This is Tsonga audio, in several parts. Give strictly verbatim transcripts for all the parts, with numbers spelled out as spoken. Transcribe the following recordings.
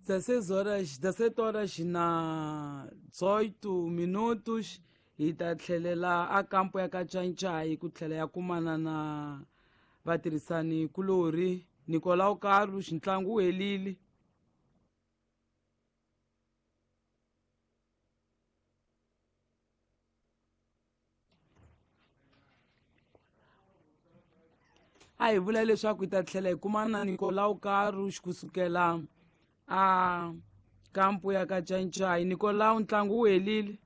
dezesseis horas, dezessete horas na dezoito minutos hi ta tlhelela a kampo ya ka Cancai ku tlhela ya kumana na vatirhisani kulorhi Nicolau Carlos. Ntlangu wu helile. A hi vula leswaku hi ta tlhela hi kumana na Nicolau Carlos kusukela a kampo ya ka Cancai. Nicolau, ntlangu wu helile.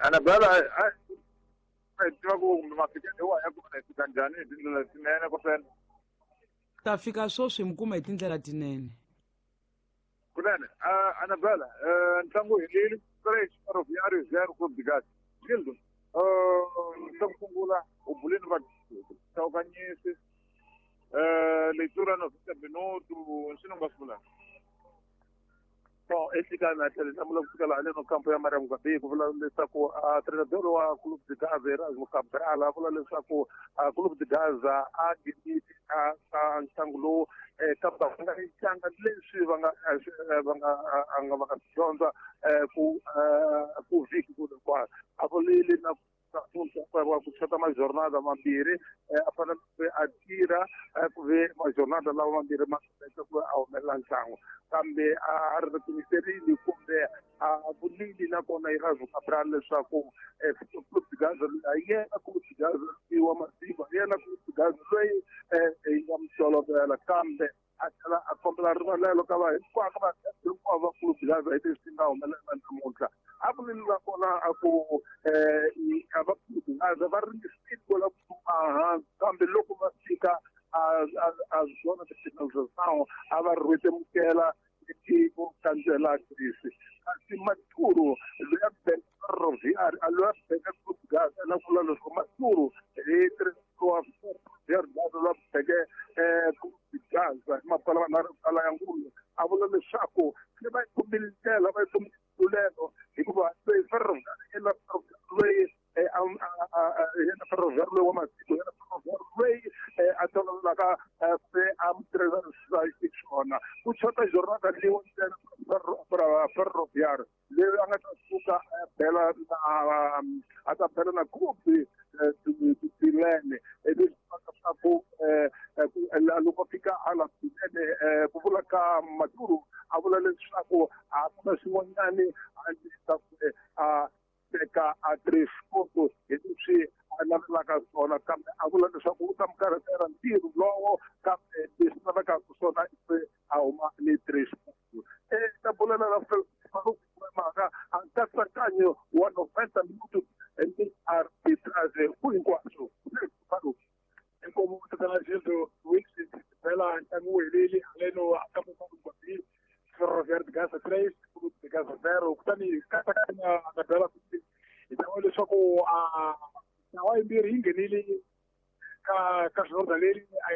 Anabela, a hi tiva ku kumbe mafikelo hi wa ya kona hi fika njhani hi tindlela tinene kunene? Ta fika sweswi mi kuma hi tindlela tinene. Kunene, Anabela, ntlangu wu helile. Três Ferroviário zero Clube de Gás. Gildo, xa ku sungula u bulini va chawukanyisi leitura noventa minuto nxini u nga swi vulaka? Bom, exikarhi tlhela hlamula ku fikela haleno kampo ya Mariam Gabi ku vula leswaku treinador wa Clube de Gaza Erasmo Cabral a vula leswaku Clube de Gaza a nghenile ka ntlangu lowu kambe va nga tlanga leswi va nga va nga nga va nga swi dyondza ku ku vhiki ku hinkwayo. A vulile na ku chota majornada mambirhi a fanele ku a tirha ku ve majornada lawa mambirhi ma ku a humelela ntlangu, kambe a ri timiserile kumbe a vulile nakona Erasmo Cabral leswaku Clube de Gaza a yena Clube de Gaza wa masiva yena Clube de Gaza loyi hi nga mi tolovela, kambe a tlhela a kombela rivalelo ka va hinkwavo va hinkwavo va Clube de Gaza hi leswi nga humelela namuntlha. A vulile nakona a ku a va Clube de Gaza va ringesile ku lava ku hansi, kambe loko va fika a zona de finalização a va rhwetemukela ku kandzela Greece. Kasi Maturu loyi a beka Ferroviário loyi a beka Clube de Gaza na ku vula leswaku Maturu hi wa Ferroviário Gaza loyi a beke Clube de Gaza hi mapala manharhu kala ya ngulu a vula leswaku se va yi kumile ndlela va yi kumile ntlulelo hikuva loyi Ferroviário loyi yena Ferroviário loyi wa masiku yena Ferroviário loyi a tolovelaka se a mutirhisa xiswona ku chota jornada leyi ntsena Ferroviário leyi a nga ta suka a bela na a ta bela na Clube Bilene leswi leswaku loko fika hala Bilene ku vula ka Maturu a vula leswaku a ku na xin'wanyani a ndzi ku a teka a três pontos hi leswi a navelaka swona, kambe a vula leswaku u ta mi karhatela ntirho lowo, kambe leswi lavekaka swona i a huma ni três pontos. Ta bulela na mhaka a nkatsakanyo wa noventa minutos ni arbitrage ku hinkwaswo. Inkomo tatana Gildo Wilson bela ntlangu wu helile haleno a kampo Gabi Ferroviário de Gaza três, Clube de Gaza zero. Kutani katsakanya na bela hi ta vona leswaku a ntlawa yimbirhi yi nghenile ka ka jornada leri.